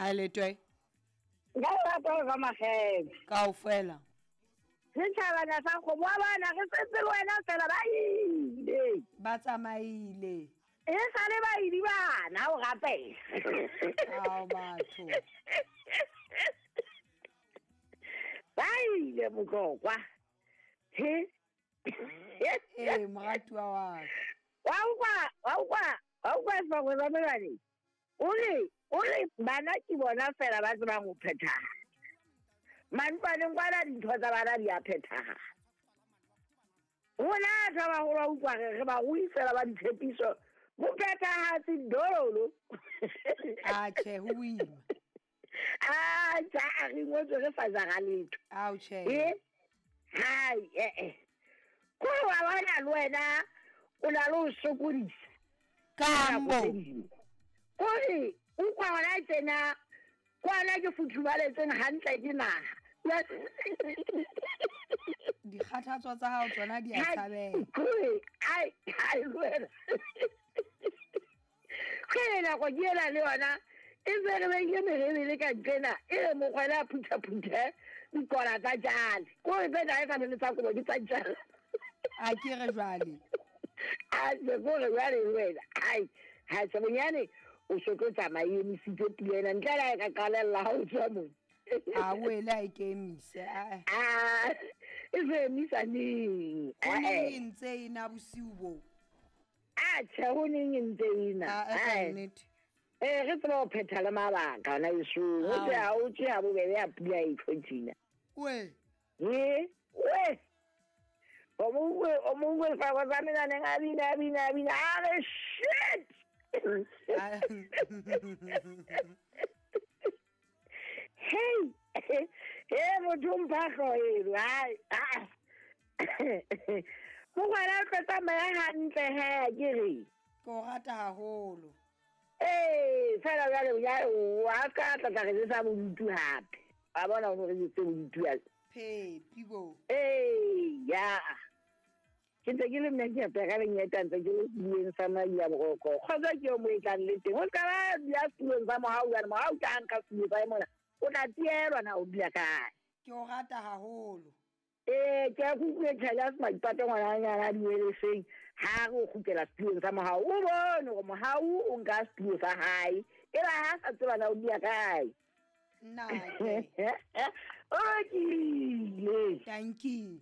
Ha le twe. Nka rata go ba magebe. Kaofela. Setšhabana sa kgomo wa bana re setse le wena fela ba ile. Ba tsamaile. E sale ba ile bana o rapela. Ao batho. Ba ile motlokwa. He. Ee moratuwa wa ka. Wa utlwa, wa utlwa, wa utlwa sefako sa melwane. O re, o re bana ke bona fela ba tsebang ho phethahala. Mantlwaneng kwana dintho tsa bana di a phethahala. Rona batho ba baholo wa utlwa re re barui fela ba ditshepiso. Bophethahatsi dololo. Atjhe, ho boima. A tja a re ngotswe re sa jara letho. Ao tjhe. E hai eh eh. Kore wa bona le wena o na le ho sokodisa. Kambo. Kore utlwa hona tjena kwana ke futhumaletseng hantle ke naha. Dikgathatso tsa hao tsona di a tshabeha. Kore ai ai le wena. Ke nako ke ena le yona e se re beile merebele ka ntlena e re mokgwele a phuthaphuthe dikola tsa jale kore tsena e sa le tsa kobo ke tsa jale. A ke re jwale. A se kore jwale le wena ai ha se bonyane o so tlo tsamaya e emisitse pula ena ntle le ha e ka qalella ha o tswa mona. A o ele a e ke emise. A A e se emisa neng. Ho neng e ntse e na bosiu bo. A tjhe ho neng e ntse e na. A ka nnete. Eh re tseba ho phetha le mabaka hona esong. O tse ha o tse ha bobebe ya pula e tlo tjena. We. Ye, we. O mongwe o mongwe fa ba tsa menaneng a bina a bina a bina a re shit. Hey, hey motho mpha hlooho ai ah. Mogwera o tlo tsamaya hantle he ke re. Ke o rata haholo. Ee, fela jwale ya wa ka tla tla re jesa bodutu hape. Wa bona o re jese bodutu ya. Phepi bo. Ee, ya. Ke ntse ke le nna ke apea ka lenyeta ntse ke le setulong sa Maria Boroko. Kgotsa ke yo mo e tlang le teng. O ska ba dula setulong sa mohau jwale mohau ke a nka setulo sa mona. O tla tielwa na o dula kae. Ke o rata haholo. Ee, ke a kutlwe Charles Maipato ngwananyana a dueleseng ha re o kgutlela setulong sa mohau. O bone hore mohau o nka setulo sa hae. E ba ha sa tseba na o dula kae. Nnake. O lokile. Tanki.